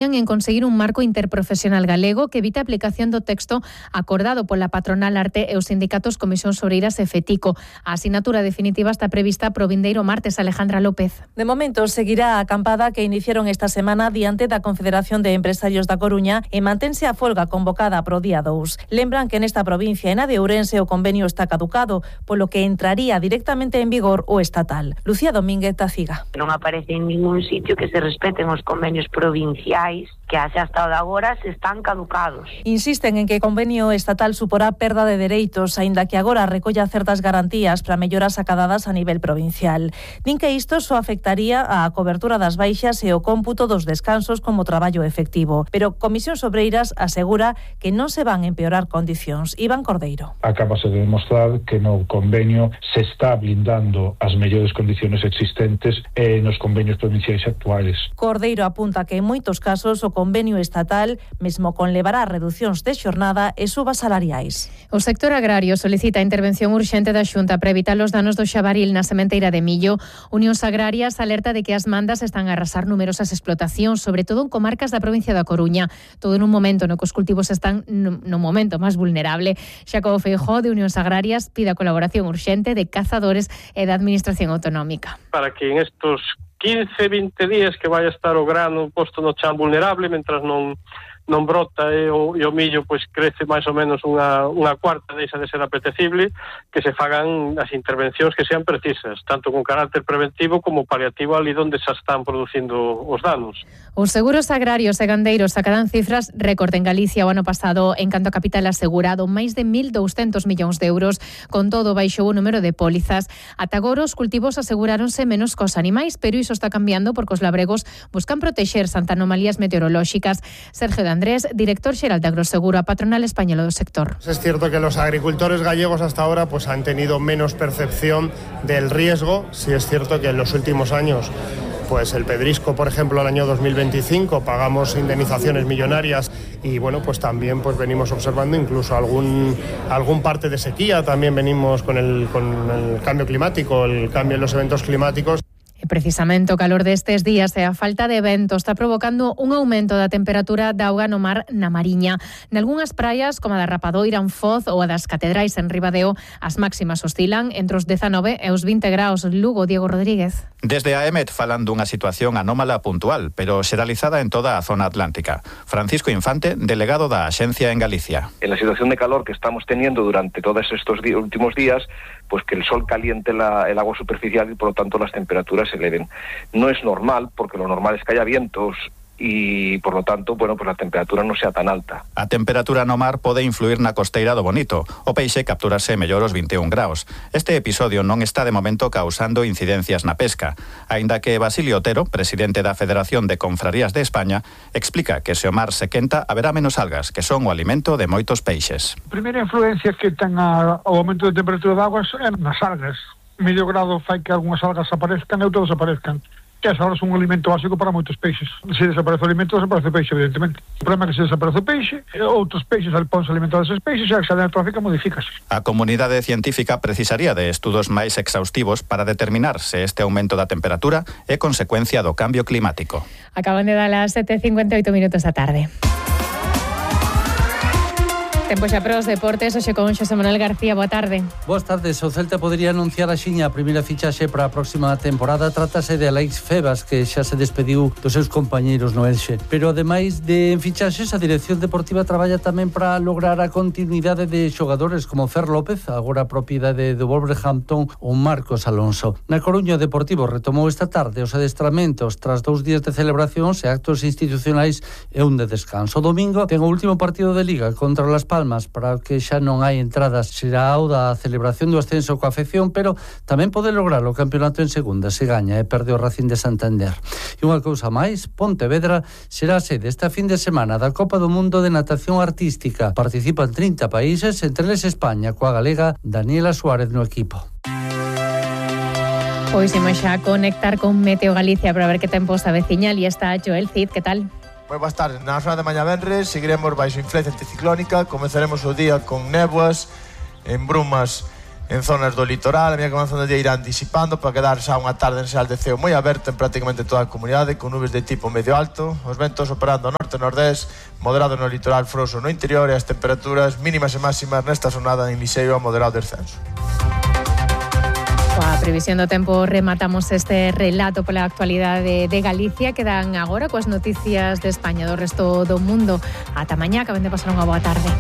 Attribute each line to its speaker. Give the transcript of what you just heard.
Speaker 1: en conseguir un marco interprofesional galego que evite a aplicación do texto acordado pola patronal Arte e os sindicatos Comisións Obreiras e FETICO. A asinatura definitiva está prevista pro vindeiro martes. Alejandra López.
Speaker 2: De momento seguirá a acampada que iniciaron esta semana diante da Confederación de Empresarios da Coruña e mantense a folga convocada pro día 2. Lembran que nesta provincia e na de Ourense o convenio está caducado, polo que entraría directamente en vigor o estatal. Lucía Domínguez Taciga.
Speaker 3: Non aparece en ningún sitio que se respeten os convenios provinciais que hasta agora se están caducados.
Speaker 2: Insisten en que o convenio estatal suporá perda de dereitos, aínda que agora recolla certas garantías para melloras acadadas a nivel provincial. Din que isto só afectaría a cobertura das baixas e o cómputo dos descansos como traballo efectivo. Pero Comisións Obreiras asegura que non se van empeorar condicións. Iván Cordeiro.
Speaker 4: Acabase de demostrar que no convenio se está blindando as mellores condicións existentes nos convenios provinciais actuales.
Speaker 2: Cordeiro apunta que en moitos casos o convenio estatal mesmo conlevará reducións de xornada e subas salariais.
Speaker 1: O sector agrario solicita a intervención urxente da Xunta para evitar os danos do xabaril na sementeira de millo. Unións Agrarias alerta de que as mandas están a arrasar numerosas explotacións, sobre todo en comarcas da provincia da Coruña, todo en un momento no que os cultivos están no momento máis vulnerable. Xacobo Feijóo de Unións Agrarias pide a colaboración urxente de cazadores e da Administración Autonómica.
Speaker 5: Para que en estos 15-20 días que vai a estar o grano posto no chan vulnerable, mentras non brota e o millo pois crece máis ou menos unha cuarta, deixa de ser apetecible, que se fagan as intervencións que sean precisas, tanto con carácter preventivo como paliativo ali onde se están producindo os danos.
Speaker 1: Os seguros agrarios e gandeiros sacarán cifras récord en Galicia o ano pasado en canto a capital asegurado, máis de 1.200 millóns de euros. Con todo, baixou o número de pólizas. Ata agora os cultivos aseguráronse menos cos animais, pero iso está cambiando porque os labregos buscan protexerse ante anomalías meteorolóxicas. Sergio Andrés, director xeral de Agroseguro, a patronal española do sector.
Speaker 6: Es cierto que los agricultores gallegos hasta ahora pues han tenido menos percepción del riesgo. Sí es cierto que en los últimos años pues el pedrisco, por ejemplo, el año 2025 pagamos indemnizaciones millonarias y bueno, pues también pues venimos observando incluso algún parte de sequía, también venimos con el cambio climático, el cambio en los eventos climáticos.
Speaker 1: Precisamente o calor destes días e a falta de vento está provocando un aumento da temperatura da auga no mar na Mariña. Nalgúnas praias, como a da Rapadoira en Foz ou a das Catedrais en Ribadeo, as máximas oscilan entre os 19 e os 20 graus. Lugo, Diego Rodríguez.
Speaker 7: Desde a EMET falan dunha situación anómala puntual, pero xeralizada en toda a zona atlántica. Francisco Infante, delegado da Axencia en Galicia.
Speaker 8: En la situación de calor que estamos teniendo durante todos estos últimos días, pues que el sol caliente el agua superficial y por lo tanto las temperaturas se eleven. No es normal, porque lo normal es que haya vientos y por lo tanto, bueno, pues la temperatura no sea tan alta.
Speaker 7: A temperatura no mar pode influir na costeira do Bonito. O peixe capturase mellor os 21 graus. Este episodio non está de momento causando incidencias na pesca, aínda que Basilio Otero, presidente da Federación de Confrarías de España, explica que se o mar se quenta haberá menos algas, que son o alimento de moitos peixes.
Speaker 9: A primeira influencia que ten o aumento de temperatura de augas é nas algas. Medio grado fai que algunhas algas aparezcan e outras desaparezcan. Que as algas son un alimento básico para moitos peixes. Se desaparece o alimento, desaparece o peixe, evidentemente. O problema é que se desaparece o peixe, outros peixes ponse a alimentar eses peixes e a cadena trófica modifícase.
Speaker 7: A comunidade científica precisaría de estudos máis exhaustivos para determinar se este aumento da temperatura é consecuencia do cambio climático.
Speaker 1: Acaban de dar as 7:58 minutos da tarde. Tempo xa para os deportes, hoxe con Xosé Manuel García, boa tarde.
Speaker 10: Boas tardes, o Celta podería anunciar axiña a primeira fichaxe para a próxima temporada. Trátase de Alex Febas, que xa se despediu dos seus compañeiros no Elxe. Pero ademais de fichaxes, a Dirección Deportiva traballa tamén para lograr a continuidade de xogadores como Fer López, agora propiedade do Wolverhampton, ou Marcos Alonso. Na Coruña, o Deportivo retomou esta tarde os adestramentos tras 2 días de celebracións e actos institucionais e un de descanso. O domingo ten o último partido de Liga contra Las Palmas, para o que xa non hai entradas. Será o da celebración do ascenso coa afección, pero tamén pode lograr o campeonato en segunda se gaña e perde o Racing de Santander. E unha cousa máis, Pontevedra será a sede esta fin de semana da Copa do Mundo de Natación Artística. Participan 30 países, entre eles España, coa galega Daniela Suárez no equipo.
Speaker 1: Pois imos xa conectar con Meteo Galicia para ver que tempo se aveciña. E está Joel Cid, que tal?
Speaker 11: Moi boas tardes. Na zona de mañá venres seguiremos baixo influencia anticiclónica. Comezaremos o día con néboas, en brumas en zonas do litoral. A medida que avanzando o día irán disipando para quedar xa unha tarde en xeral de ceo moi aberta en prácticamente toda a comunidade, con nubes de tipo medio alto, os ventos operando norte-nordés, moderado no litoral, froso no interior, e as temperaturas mínimas e máximas nesta xornada en lixeiro a moderado descenso.
Speaker 1: Coa previsión do tempo rematamos este relato pola actualidade de Galicia. Quedan agora coas noticias de España do resto do mundo. Ata mañá, que acaben de pasar unha boa tarde.